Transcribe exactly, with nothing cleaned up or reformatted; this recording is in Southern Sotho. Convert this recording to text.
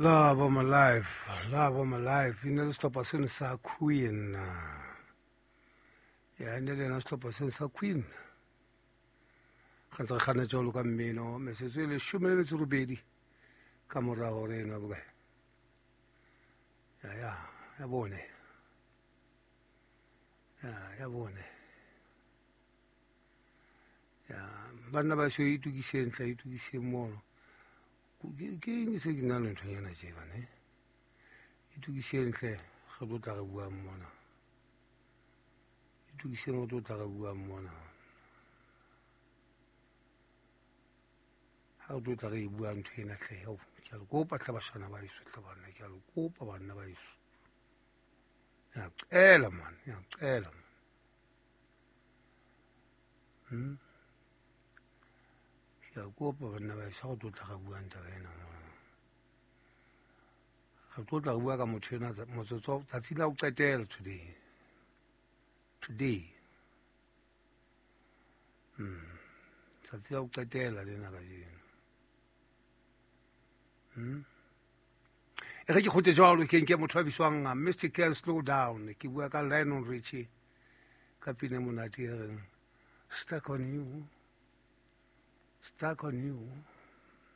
Love of my life, love of my life. E ne le sehlopha seno sa Queen. Ya, e ne le yona sehlopha seno sa Queen. Ga ntse re kganna jwalo ka mmino, metsotso e leshome le metso e robedi ka mora hora eno ya bokae? Ya, ya, ya bone. Ya, ya bone. Ya, banna ba so itokiseng hle, itokiseng mono. Ke ke eng se ke nna le nthonyana tje bana, eh? Itokiseng hle, re tlo tla re buang mona. Itokiseng re tlo tla re buang mona. Ha re tlo tla re e bua ntho ena hle, hao, ke a le kopa hle bashana ba heso hle banna, ke a le kopa banna ba heso. Ke a qela man, ke a qela man. Hmm? Ke a kopa banna ba heso, ha re tlo tla re buang taba ena mona. Re tlo tla re bua ka motho ena motsotso tsatsi la ho qetela today. Today. Hmm. Tsatsi la ho qetela lena kajeno. Hmm. E re ke kgute jwalo ke nke motho a bitswang Mister Ken Slow Down. Ke bua ka Lionel Richie ka pina e monate e reng Stuck on You. Stuck on You.